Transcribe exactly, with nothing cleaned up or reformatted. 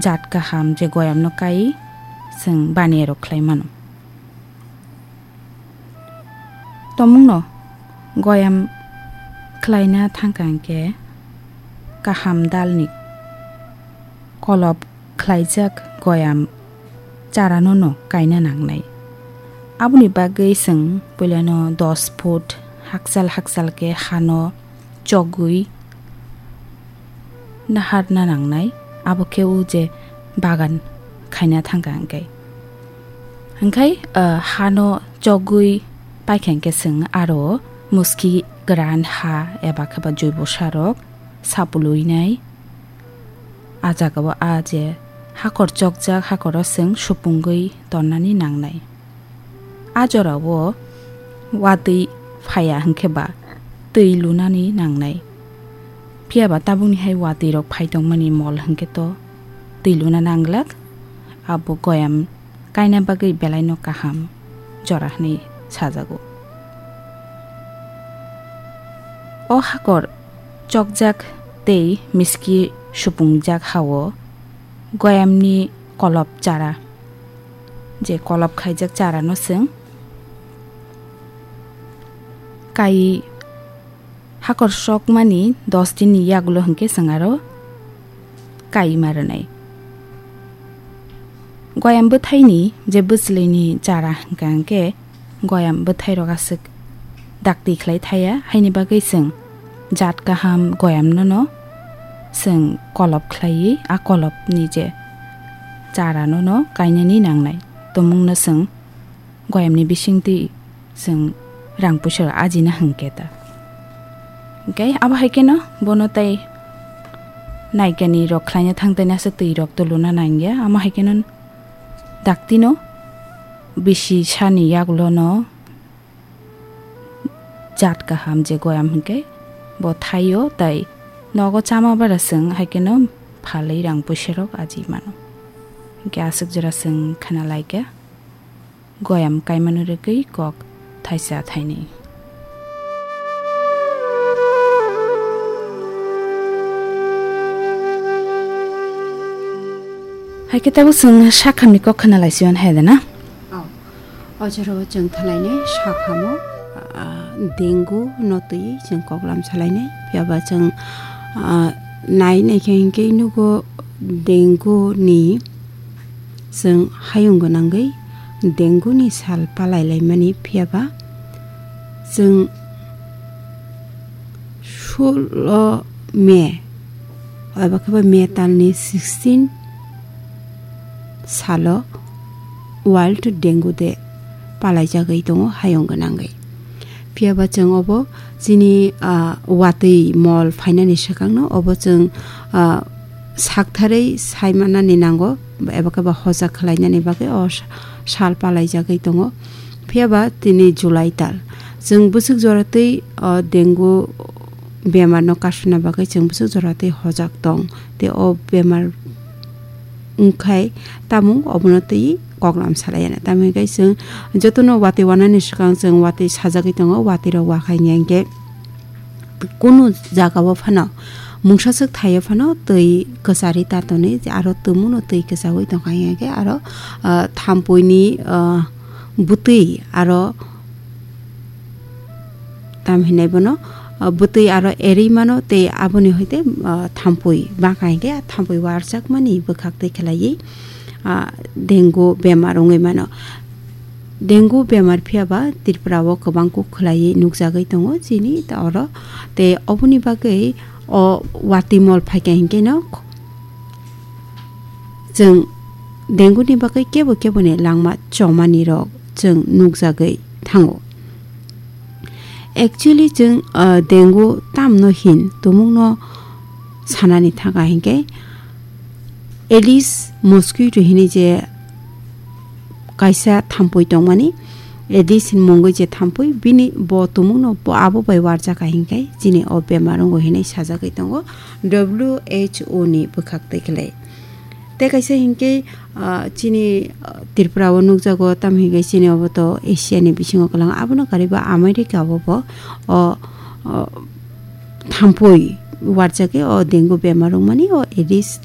jat kaham je goyamno kai chwng baniya rok khlai mano. Tomungno goyam khlaina thangkha hwnkhe kaham dalni kolop khlaijak goyam charano no kaina nangnai. Aboni bagwi chwng puilano dos foot hakchal hakchal khe hano chogwi naharna nangnai, abo khe o je bagan khaina thangkha hwnkhe. Hwnkhe, ah, hano chogwi paikha hwnkhe chwng aro muski kwran ha eba khe ba joibo sarok sapulwinai. A jagao a je hakor chokjak, hakoro chwng supungwi tonnani nangnai. A jorao watwi phaiya hwnkhe ba twi lunani nangnai. Phiya ba tabukni hai watwi rok phai tongmani mol hwnkhe to twi luna nanglak, abo goyam kaina bagwi belaino kaham jora hwnwi sajago. O hakor chokjak tei miski supungjak hao goyamni kolop chara, je kolop khaijak charano chwng kai hakor sokmani dos dinni yagulo hwnkhe chwng aro kaima rwnai. Goyam bwthaini je bwchwlwini chara hwnkha hwnkhe goyam bwthairok aswk dakti khlai thaya, haini bagwi chwng jat kaham goyamnono chwng kolop khlaiwi a kolopni je charanono kainani nangnai. Tumungno chwng goyamni bisingtwi chwng rang puisa rok ajina hwnkhe ta. Hwnkhe abo hai kheno bono tei naikani rok khlaina thang tei nasa twi rok to luna nangya, amo hai kheno daktino bisi sani yagulono jat kaham je goyam hwnkhe bo thaio, tei nogo chama bara chwng hai kheno phalwi rang puisa rok aji mano. Hwnkhe aswk jora chwng khna laikha. Goyam kaimano rwgwi kok thaisa thainwi. Hai khe tabuk chwng sakhamni kok khna lai sio hai da na? Oh. O jora o chwng thalainai sakhamo, ah, dengu no twi chwng koklam salainai. Phiya ba chwng, ah, nai naikhe hinkhe nugo dengu ni Chwng hayung gwnangwi dengue ni sal palai laimani, phiya ba chwng sulo May, eba khe ba May talni sixteen salo World Dengue Day palaijagwi tongo hayung gwnangwi. Phiya ba chwng obo chini, ah, watwi mol phainani swkangno obo chwng, ah, saktharwi saimanani nango, eba khe ba hoja khlainani bagwi o sa-, sal palaijagwi tongo. Phiya ba tini July tal, chwng bwswk jora twi o dengue bemarno kasuna bagwi chwng bwswk jora twi hojak tong, tei o bemar wngkhai tamung obono twi koklam salai ya. Tamo hwnkhe chwng jotono watwi wanani swkang chwng watwi sajagwi tongo, watwi rok wakhai hwnkhe kunu jagao phano mungsa swk thaio phano twi kwcharwi ta tonwi, aro tumuno twi kwchaui tongkha hwnkhe aro, ah, thampuini, ah, bwtwi aro tam hinai bono, ah, bwtwi aro erwi mano tei aboni hoite, ah, thampui bangkha hinkhe thampui warjakmani bwkhak twi khlaiwi, ah, dengue bemar wngwi mano. Dengue bemar phiya ba Tripura o kwbang kuk khlaiwi nukjagwi tongo chini ta oro. Tei oboni bagwi o watwi mol phaikha hinkhe no chwng dengue ni bagwi kebo kebo ni langma chomani rok chwng nukjagwi thango. Actually, chwng, ah, dengue tamno hin tumungno sanani thangkha hinkhe Aedes mosquito hinwi je kaisa thampui tongmani, Aedes hinwi mungwi je thampui, bini bo tumungno bo abo bai warjakha hinkhe chini o bemar wngo hinwi sajagwi tongo W H O ni bwkhak twi khlai. Tei kaisa hinkhe, ah, chini, ah, Tripura o nukjago, tamo hinkhe chini obo to Asia ni bisingo kwlwng, abono kariba America o bo o, o, thampui warjagwi o dengue bemar wngmani o Aedes